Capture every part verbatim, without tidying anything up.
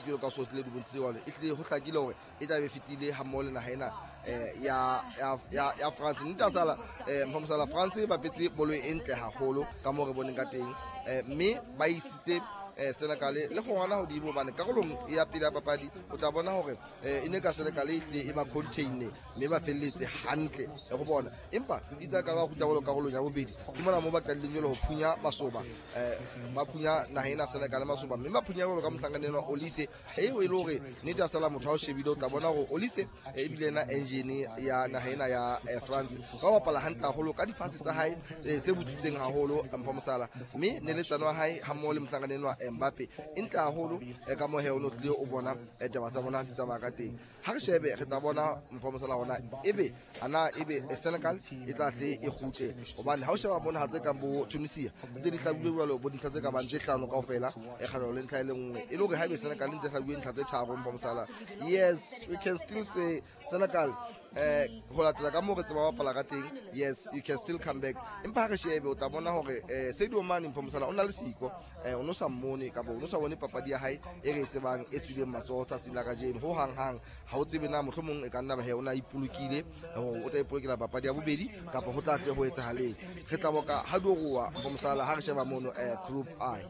jwalo ka so tlile di bontshitse jwalo, e hlile ho hlakile hore e tla be fetile ha mmoho le naha ena eh, ya ya ya ya France. Nnete a sala eh Mpho Mosala, France ba bapetse bolo e ntle haholo ka moo re boneng ka teng, eh, mme ba isitse eh Senegal le gongwana hodimo, hobane karolong ya pele ya papadi o tla bona hore eh, e ne ka Senegal e hlile e ba contain mme ba felletse hantle go bona. Empa itse ka ba kgutla bolo karolong ya bobedi, ke mona mo ba qadileng jwale ho phunya masoba, eh ba phunya naha ena Senegal masoba, mme ba phunya jwalo ka mohlankana enwa Olise, eo e le hore nnete ya sala motho ha o shebile o tla bona hore Olise eh, ebile ena engine ya naha ena ya eh, France. Ba bapala hantle haholo ka dipase tsa hae eh, tse butswitseng haholo Mpho Mosala, mme neletsano wa hae ha mmoho le mohlankana enwa Mbappe e ntle haholo eh, ka mohe o no tlile o bona eh, taba tsa bona di tsamaya ka teng. Ha re shebe re tla bona Mpho Mosala hona ebe ana ebe eh, Senegal e tla tle e kgutle, hobane ha o sheba mona ha tse kang bo Tunisia ntse di hlabuwe jwalo bo dintlha tse ka bang tse hlano kaofela, e kgahlano le ntlha e le nngwe, e le hore ha ebe Senegal ntse hlabuwe ntlha tse tharo Mpho Mosala, yes, we can still say Senegal eh ho latela ka moo re tseba bapala ka teng, yes, you can still come back. Empa ha re shebe o tla bona hore eh Sadio Mane Mpho Mosala o na le siko, eh o no sa mmone kapa o no sa bone papadi ya hae e re e tsebang e tswileng matsoho tsatsing la kajeno ho hang hang. Ha o tsebe na mohlomong e ka nna ba he o na ipolokile hore o tla ipolokela papadi ya bobedi kapa ho tla tle ho etsahaleng. Re tla boka ha di roa Mpho Mosala ha re sheba mono eh group I.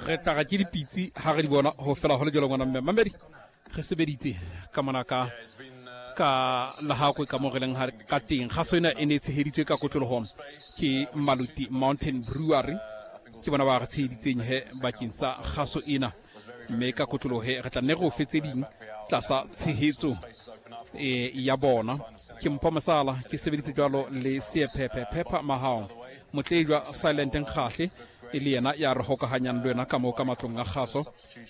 Re tla ra ke dipitsi ha re di bona ho fela ho le jwalo ngwana mme mamedi re sebeditse ka mona ka ka Lahakwe ka mo re leng ka teng. Kgaso ena e ne e tsheheditswe ka kotloloho ke Maluti Mountain Brewery, ke bona ba re tsheheditseng he bakeng sa kgaso ena, mme ka kotloloho he re tla nne re o fe tse ding tlasa tshehetso e ya bona. Ke Mpho Mosala ke sebeditse jwalo le Seephephe Phepha Mahao Motlejwa Silent Nkgahle e le yena ya re hokahanyang le wena ka moo ka matlong a kgaso,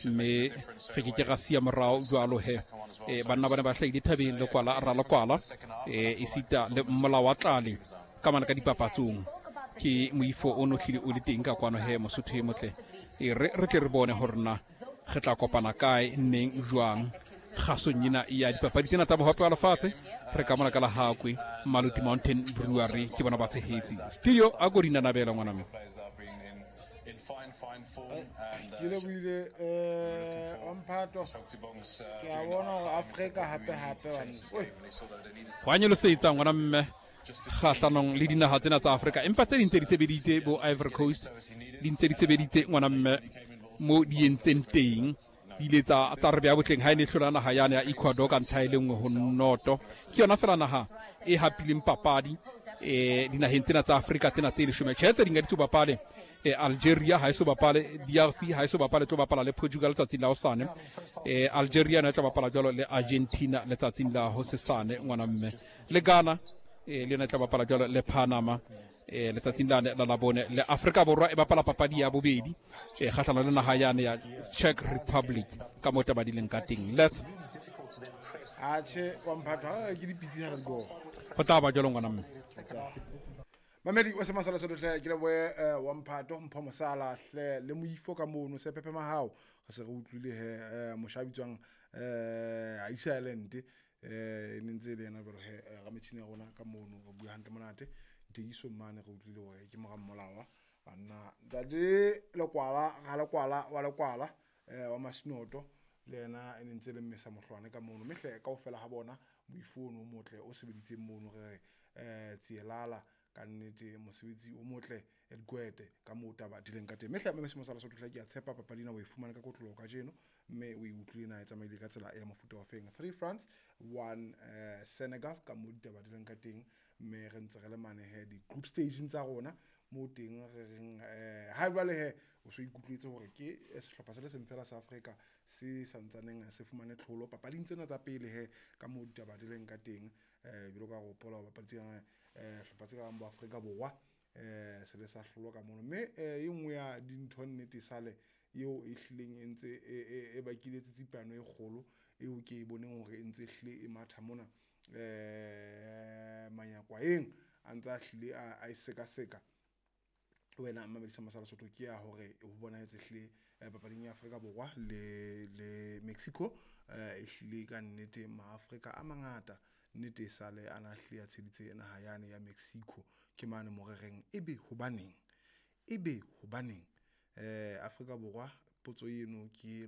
mme re ke ke ra siya morao jwalo he. E, banna ba ne ba hlahile thabeng lekwala ralekwala e, esita le mmolao wa tlale ka mana ka dipapatsong ke moifo o no hlile o le teng ka kwano he Mosotho e motle. E re re tle re bone hore na re tla kopana kae neng jwang kgasong ena ya dipapadi tsena tsa bohope wa lefatshe. Re ka mona ka Lahakwe Maluti Mountain Brewery ke bona ba tshehetse studio a ko dinanabela ngwana me. Ke lebohile um wamphato, ke a bona hore Afrika hape hape banna. Ho a nyolosetsa ngwana mme kgahlanong le dinaha tsena tsa Afrika, empa tse ding tse di sebeditse bo Ivory Coast di ntse di sebeditse ngwana mme mo di entseng teng di ile tsa tsa re beha botleng ha e ne e hlola naha yane ya Ecuador ka ntlha e le nngwe ho noto. Ke yona fela naha e hapileng papadi eh dinaheng tsena tsa Afrika tsena tse leshome. Tjhe, tse ding ha di so bapale, eh, Algeria ha e so bapale, D R C ha e so bapale, tlo bapala le Portugal letsatsing la hosane. Eh, Algeria yona e tla bapala jwalo le Argentina letsatsing la hosesane ngwana mme. Le Ghana eh, le yona e tla bapala jwalo le Panama eh, letsatsing la la labone. Le Afrika Borwa e bapala papadi ya bobedi eh, kgahlano le naha yane ya Czech Republic ka moo taba di leng ka teng. Les Atjhe wamphato ha ke dipitsi ha re di bona. Ho tla ba jwalo ngwana mme. Mamedi wa Semasala Sotho hle, ke lebohe eh, wamphato Mpho Mosala hle le moifo ka mono Sephephe Mahao. Re se re utlwile he eh, mosha a bitswang eh Iceland eh e ne ntse le yena jwalo he eh, rametjhini ya rona ka mono re bua hantle monate. Ditekisong mane re utlwile hore ke mora mmolawa banna ntate Lekwala ga Lekwala wa Lekwala eh wa Masinoto le yena e ne ntse le mmesa mohlwane ka mono. Mme hle kaofela ha bona moifo ono o motle o sebeditseng mono re re eh Tsielala ka nnete mosebetsi o motle Edgwete ka moo taba di leng ka teng. Mme hle mme Mosala Sotho hle ke a tshepa papadi ena o e fumane ka kotloloho kajeno, mme o e utlwile na e tsamaile ka tsela ya mofuta wa feng. Three France, one eh, Senegal ka moo ditaba di leng ka teng, mme re ntse re le mane he di-group stageng tsa rona moo teng re reng eh, ha jwale he o so ikutlwetse hore ke eh, sehlopha se le seng fela sa Afrika se santsaneng se fumane tlholo papading tsena tsa pele he ka moo ditaba di leng ka teng. Eh, jwalo ka ho hopola hore papadi tse kang, eh, hlopha tse kang bo Afrika Borwa eh se le sa hlolwa ka mono. Mme eh, e nngwe ya dintho nnete sale eo e hlileng e ntse e, e, e bakile tsitsipano e kgolo eo ke e boneng hore e ntse e hlile e matha mona eh manyakwaeng a ntse a hlile a, a e sekaseka. Wena Mamedi Masala Sotho ke ya hore ho bonahetse hlile eh, papading ya Afrika Borwa le le Mexico eh, e hlile ka nnete maAfrika a mangata nnete e sale a na hlile a tsheditse naha yane ya Mexico. Ke mane mo re reng ebe hobaneng, ebe hobaneng eh Afrika Borwa potso eno ke